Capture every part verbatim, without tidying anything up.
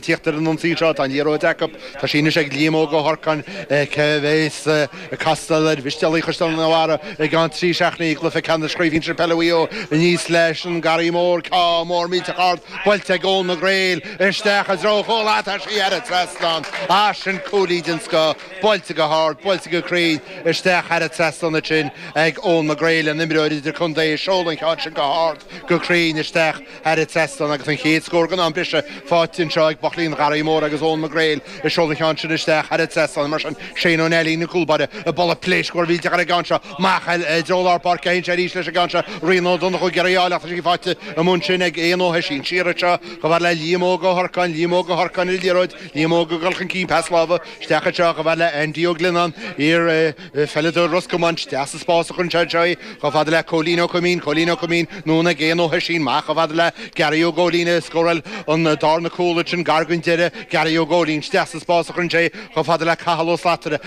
Tíocht ar an ionsaí seo tá an liathróid acu tá sí anois ag Liam Óg Ó hOrcáin cé bhéas ag castáil ar Mhistéalaigh Chaisleán an Bharraigh i gceann trí seachtainí i gcluiche ceannais Chraobh Shinsir Peile Mhaigh Eo aníos leis an Garraí Mór ceann mór millteach ard buailte ag Eoin McGrail isteach i dtreo chúl tá sí thar an trasnán ah sin cúilín den scoth buailte go hard buailte go cruinn isteach thar an trasnán ansin ag Eoin McGrail an imreoir idirchontae ag seoladh an ceann sin go hard go cruinn isteach thar an trasnán agus an chéad scór den am breise faighte anseo ag Buachaillí an Gharraí Mhóir agus Eoin McGrail ag seoladh an cheann sin isteach thar an trasnán mar sin Shane Ó Neilín an cúlbáire ag bualadh pléasc mhór mhillteach ar an gceann seo amach i dtreo lár páirce théann sé arís leis an gceann seo Rian Ó Donnchú ag iarraidh a fháil ach tá sí faighte amuigh ansin ag Éanna Ó hOisín siar anseo chomh fada le Liam Óg Ó hOrcáin Liam Óg Ó hOrcáin ar an liathróid Liam Óg ag dul chun cinn pas láimhe isteach anseo chomh fada le Andy Ó Glionnáin iar pheileadóir Ros Comáin isteach sa spás a chuireann sé anseo í chomh fada le Cóilín Ó Coimín Cóilín Ó Coimín anonn ag Éanna Ó hOisín amach chomh fada le Gary Ó Góilín a scóráil an darna cúl ansin gar don deireadh Gary Ó Góilín isteach sa spás a chuireann sé chomh fada le Cathal Ó Slatara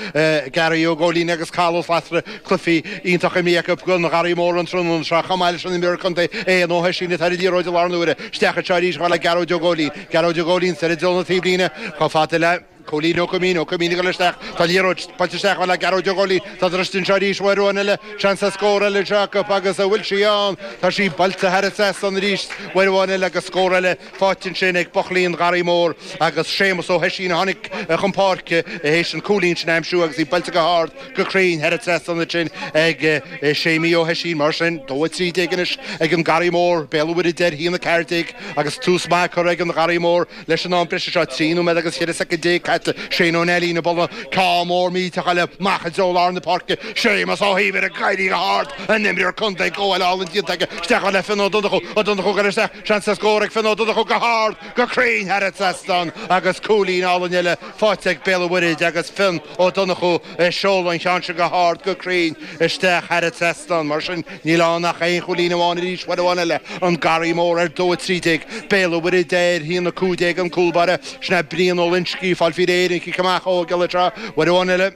Gary Ó Góilín agus Cathal Ó Slatara cluichí iontach imeartha acu don Gharraí Mór an tráthnóna seo chomh maith leis an imreoir contae Éanna Ó hOisín atá ar an liathróid i láthair na huaire isteach anseo arís chomh fada le Gearóid Ó Góilín Gearóid Ó Góilín soir i dtreo na taobhlíne chomh fada le Cóilín Ó Coimín, Ó Coimín ag dul isteach, tá liathróid buailte isteach chomh fada le Gearóid Ó Góilín, tá druidte anseo arís uair amháin eile, seans ar scór eile anseo acu agus an bhfuil sí ann, tá sí buailte thar an trasnán arís uair amháin eile agus scór eile faighte ansin ag Buachaillí an Gharraí Mhóir agus Séamus Ó hOisín a tháinig chun páirce théis an cúilín sin a aimsiú agus í buailte go hard go cruinn thar an trasnán ansin ag Séimí Ó hOisín. Mar sin, dó a trí déag anois ag an Garraí Mór, Béal an Mhuirthead ar haon a ceathair déag agus tús maith curtha ag an Gharraí Mór Leis an am breise seo, trí nóiméad agus cheithre soicind déag caite, Shane Ó Neilín ag bualadh ceann mór millteach eile amach i dtreo lár na páirce, Séamus Ó hÍomhair ag éirí go hard, an imreoir contae, gabháil álainn déanta aige, isteach le Fionn Ó Donnchú, Ó Donnchú ag dul isteach, seans ar scór ag Fionn Ó Donnchú go hard, go cruinn thar an trasnán agus cúilín álainn eile faighte ag Béal an Mhuirthead agus Fionn Ó Donnchú ag seoladh an cheann sin go hard, go cruinn isteach thar an trasnán. Mar sin, níl ann ach aon chúilín amháin arís, uair amháin eile, an Garraí Mór ar dó a trí déag, Béal an Mhuirthead ar haon a cúig déag an cúl báire, sin é Brian Ó Loinsigh ag fáil faoi réir an chic amach ó Ghiolla Trá uair amháin eile.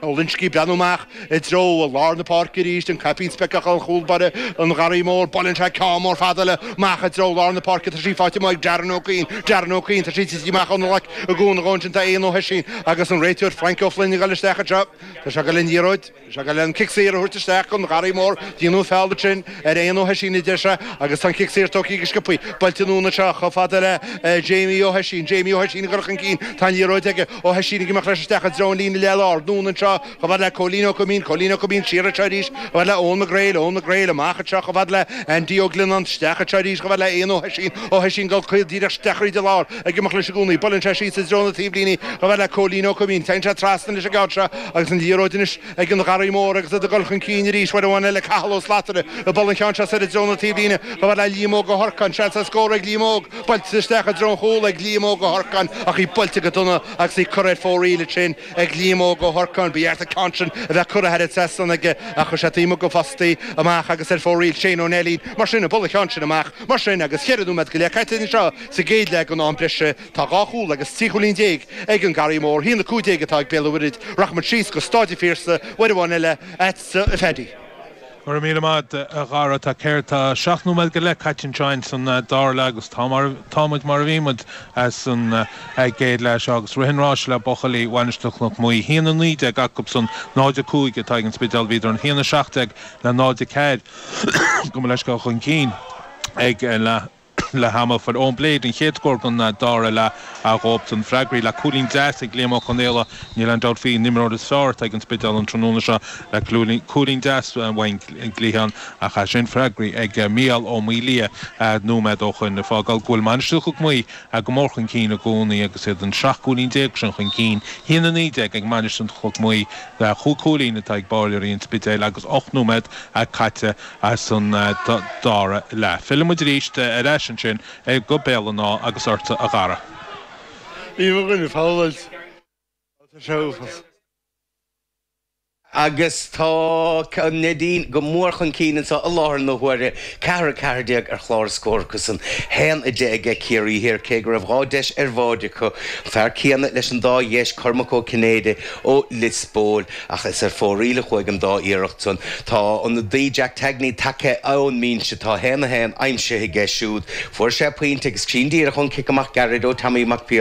Ó Loinsigh ag breathnú amach i dtreo lár na páirce arís, an caipín speiceach an chúl báire an Gharraí Mór. Buaileann sé ceann mór fada eile amach i dtreo lár na páirce. Tá sí faighte amuigh ag Darren Ó Cuinn. Darren Ó Cuinn, tá sí tite amach óna ghlac i gcúnamh dhó ansin tá Éanna Ó hOisín agus an réiteoir Frank Ó Floinn ag dul isteach anseo. Tá sé ag dul an liathróid. Tá sé ag dul an cic saor a thabhairt isteach don Gharraí Mór. Déanadh feall ansin ar Éanna Ó hOisín, a deir sé, agus tá an cic saor tógtha go sciobthaí. Buailte anonn anseo chomh fada le Jamie Ó hOisín. Jamie Ó hOisín ag dul chun cinn. Tá an liathróid aige. Ó hOisín ag imeacht leis isteach i dtreo an líne leath-láir. Anonn anseo chomh fada le Cóilín Ó Coimín. Cóilín Ó Coimín siar anseo arís chomh fada le Eoin McGrail. Eoin McGrail amach anseo chomh fada le Andy Ó Glionnáin. Isteach anseo arís chomh fada le Éanna Ó hOisín. Ó hOisín ag dul caol díreach isteach thríd an lár. Ag imeacht leis i gcónaí. Buaileann sé síos i dtreo na taobhlíne chomh fada le Cóilín Ó Coimín. Téann sé trasna leis an gceann seo agus an liathróid anois ag an Gharraí Mór agus iad ag dul chun cinn arís uair amháin eile Cathal Ó Slatara ag bualadh an cheann seo soir i dtreo na taobhlíne chomh fada le Liam Óg Ó hOrcáin, seans ar scór ag Liam Óg, buailte isteach i dtreo an chúil ag Liam Óg Ó hOrcáin ach í buailte go dona agus í curtha ar fóraoil ansin ag Liam Óg Ó hOrcáin. Ba cheart an ceann sin a bheith curtha thar an trasnán aige ach chuir sé taobh amuigh den phostaí amach agus ar fóraoil Shane Ó Neilín mar sin ag bualadh an cheann sin amach mar sin agus cheithre nóiméad go leith caite anseo sa gcéad leath den am breise. Tá dhá chúl agus trí chúilín déag ag an Garraí Mór, a haon a cúig déag atá ag Béal an Mhuirthead. Rachaimid síos go Stáid an Phiarsaigh uair amháin eile agatsa a Phaddy. Go raibh míle maith a Dhara. Tá céard, tá seacht nóiméad go leith caite anseo ins an dara leath agus tá mar, tá muid mar a bhí muid san gcéad leath seo agus rith an ráis le buachaillí Mhainistir Chnoc Muaidhe. A haon a naoi déag acu san, náid a cúig atá ag an Spidéal. Bhíodar an haon a seacht déag le náid a ceathair gabh mo leithscéal chun cinn ag leath. Leath ama. Fuair Eoin Blade an chéad scór den dara leath dhóibhsan. Freagraithe le cúilín deas ag Liam Ó Conaola. Níl aon dabht faoi, an imreoir is fearr atá ag an Spidéal an tráthnóna seo le cúilín deas ón gcliathán ach é sin freagraithe ag Mícheál Ó Maolaodha nóiméad ó shoin. Ag fágáil go bhfuil Mainistir Chnoc Muaidhe go mór chun cinn i gcónaí agus iad an seacht gcúilín déag sin chun cinn. A haon a naoi déag ag Mainistir Chnoc Muaidhe le chúig chúilín atá ag báileoirí an Spidéil agus ocht nóiméad caite san dara leath. Fillfidh muid arís ar ais ansin go Béal an Átha agus ortsa a Dhara. Ní mo dhuine fabhláilt. Tá sé uafásach. Agus tá an Neidín go mór chun cinn anseo i láthair na huaire, ceathair a ceathair déag ar chlár na scór acusan, haon a deich aige Ciarraí Thiar, cé go raibh dhá deis ar bháide acu, an fear céanna leis an dá dheis, Cormac Ó Cinnéide ó Lios Póil, ach is ar fóraoil a chuaigh an dá iarracht san. Tá ionadaí Jack Tagney tagtha ón mbinse, tá haon a haon aimsithe aige siúd. Fuair sé pointe agus sin díreach ón cic amach gairid ó Tommy Mac Piarais.